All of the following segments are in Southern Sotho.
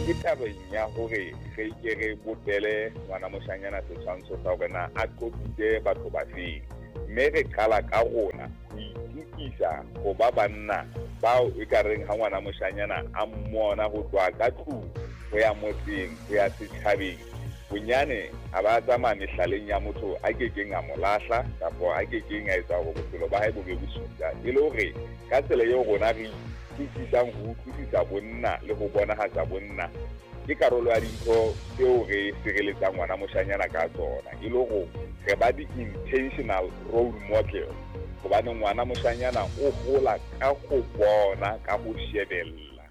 Ke tabeng ya hore re ke re bopele ngwana moshanyana setshwantsho sa hore na a qoqise batho ba feng, mme re qala ka rona ho itukisa ho ba banna bao e ka reng ha ngwana moshanyana a mmona ho tloha ka tlung ho ya motseng ho ya setjhabeng, bonyane a ba tsamaya mehlaleng ya motho a kekeng a mo lahla kapa a kekeng a etsa hore bophelo ba hae bo be bosula. E le hore ka tsela eo rona re itukisang ho utlwisisa bonna le ho bonahatsa bonna, ke karolo ya dintho tseo re sireletsang ngwana moshanyana ka tsona, e le hore re ba di-intentional role model, hobane ngwana moshanyana o hola ka ho bona, ka ho shebella.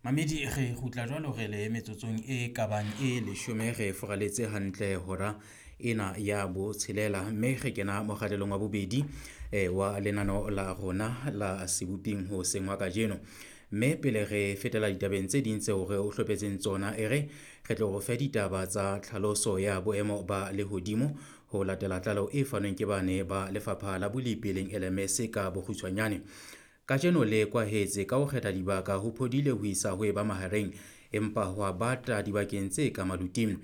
Mamedi, re kgutla jwalo re le metsotsong e kabang e 10, re furaletse hantle hora ena ya botshelela, mme re kena mokgahlelong wa bobedi wa lenaneo la rona la Seboping hoseng wa kajeno. Mme pele re fetela ditabeng tse ding tseo re o hlophetseng tsona, e re re tlo re fe ditaba tsa tlhaloso ya boemo ba lehodimo ho latela tlaleho e fanweng ke bane ba lefapha la bolepi leng LMS ka bokgutshwanyane. Kajeno le kwahetse ka ho kgetha dibaka ho phodile ho isa ho eba mahareng, empa ho a bata dibakeng tse ka maluting.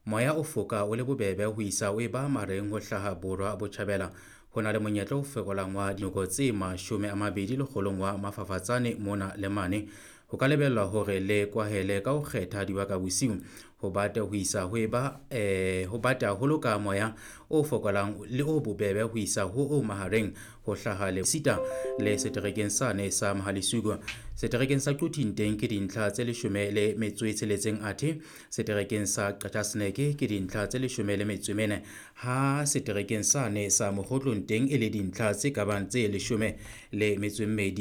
Moya o foka o le bobebe ho isa ho eba mahareng ho hlaha borwa botjhabela. Ho na le monyetla o fokolang wa dinoko tse 20 lekgolong wa mafafatsane mona le mane. Ho ka lebellwa hore le kwahele ka ho kgetha dibaka bosiu, ho bate ho isa ho eba ho bate haholo ka moya o fokolang le o bobebe ho isa ho o mahareng ho hlaha le sita le seterekeng sane sa Mohalesuku. Seterekeng sa Quthing teng ke dintlha tse 16, athe seterekeng sa Qacha's Nek ke dintlha tse 14, ha seterekeng sane sa Mokgotlong teng e le dintlha tse kabang tse 12.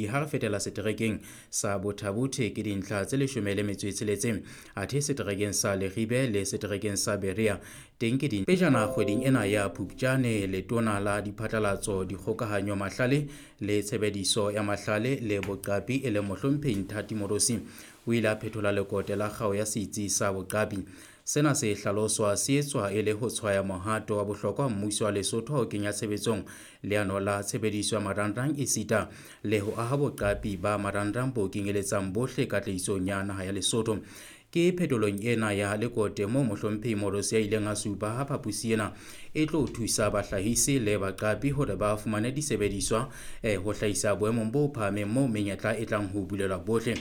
Ha re fetela seterekeng sa Botha-Bothe ke dintlha tse 16, athe seterekeng sa Leribe le seterekeng sa Berea teng ke din. Pejana kgweding ena ya Phupjane, letona la diphatlalatso, dikgokahanyo, mahlale le tshebediso ya mahlale le boqapi e leng mohlomphehi Nthati Moorosi o ile a phethola lekote la kgao ya setsi sa boqapi. Sena se hlaloswa se etswa e le ho tshwaya mohato wa bohlokwa mmuso wa Lesotho ho kenya tshebetsong leano la tshebediso ya marangrang esita le ho aha boqapi ba marangrang bo kenyeletsang bohle katlehisong ya naha ya Lesotho. Ke phetolong ena ya lekote moo mohlomphehi Moorosi a ileng a supa ha phaposi ena e tlo thusa bahlahisi le baqapi hore ba fumane disebediswa ho hlahisa boemong bo phahameng moo menyetla e tlang ho bulelwa bohle.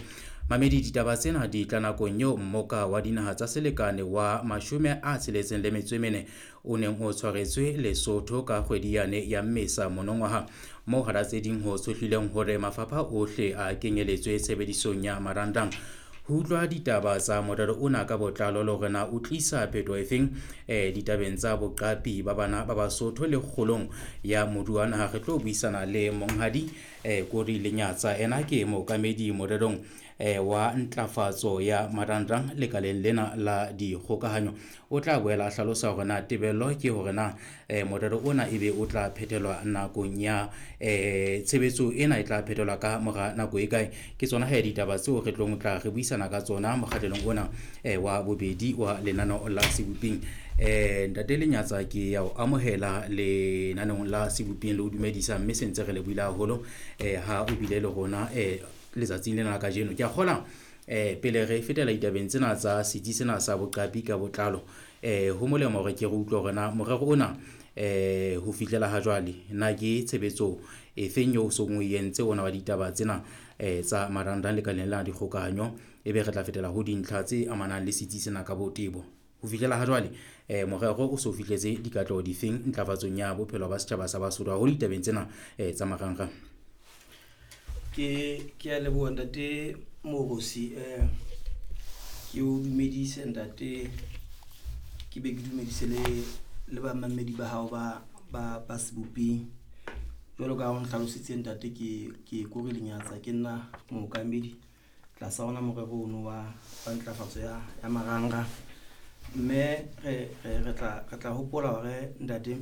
Mamedi, ditaba tsena di tla nakong eo mmoka wa dinaha tsa selekane wa 64 o neng o tshwaretswe Lesotho ka kgwedi yane ya Mmesa monongwaha, moo hara tse ding ho tshohlileng hore mafapha ohle a kenyeletswe tshebedisong ya marangrang. Ho utlwa ditaba tsa morero ona ka botlalo le hore na o tlisa phetoho efeng ditabeng tsa boqapi ba bana ba Basotho le kgolong ya moruo wa naha, re tlo buisana le monghadi Kori Lenyatsa. Ena ke mookamedi morerong wa ntlafatso ya marangrang lekaleng lena la dikgokahanyo. O tla boela a hlalosa hore na tebello ke hore na morero ona ebe o tla phethelwa nakong ya tshebetso ena e tla phethelwa ka mora nako e kae. Ke tsona he ditaba tseo re tlong tla re buisana ka tsona mokgahlelong ona wa bobedi wa lenaneo la Seboping. Ntate Lenyatsa, ke ya o amohela lenaneong la Seboping le o dumedisa, mme se ntse re lebohile haholo ha o bile le rona letsatsing lena la kajeno. Ke a kgola pele re fetela ditabeng tsena tsa setsi sena sa boqapi ka botlalo, ho molemo hore ke re utlwe hore na morero ona ho fihlela ha jwale na ke tshebetso e feng eo o song o entse ona wa ditaba tsena tsa marangrang lekaleng la dikgokahanyo, ebe re tla fetela ho dintlha tse amanang le setsi sena ka botebo. Ho fihlela ha jwale morero o so fihletse dikatleho difeng ntlafatsong ya bophelo ba setjhaba sa Basotho haholo ditabeng tsena tsa marangrang? Ke a leboha ntate Moorosi, ke o dumedise ntate, ke be ke dumedise le bamamedi ba hao ba Seboping. Jwalo ka ha o nhlalositse ntate, ke Kori Lenyatsa, ke nna mookamedi tlasa ona morero ono wa ntlafatso ya marangrang. Mme re tla hopola hore ntate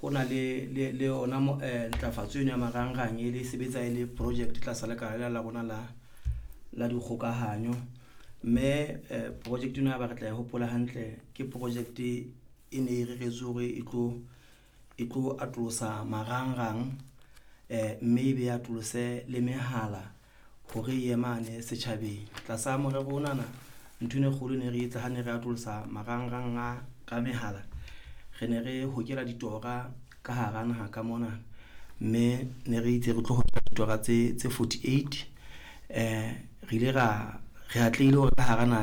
ho na le yona ntlafatso eno ya marangrang e le sebetsa e le project tlasa lekala la rona la dikgokahanyo. Mme project eno ya ba re tla e hopola hantle, ke project e ne e reretswe hore e tlo atolosa marangrang, mme e be atolose le mehala hore e ye mane setjhabeng. Tlasa morero onana, ntho eno e kgolo ne re etsa ha ne re atolosa marangrang a ka mehala, re ne re hokela ditora ka hara naha ka mona. Mme ne re itse re tlo ditora tse 48. Re ile ra re atlehile hore ka hara naha.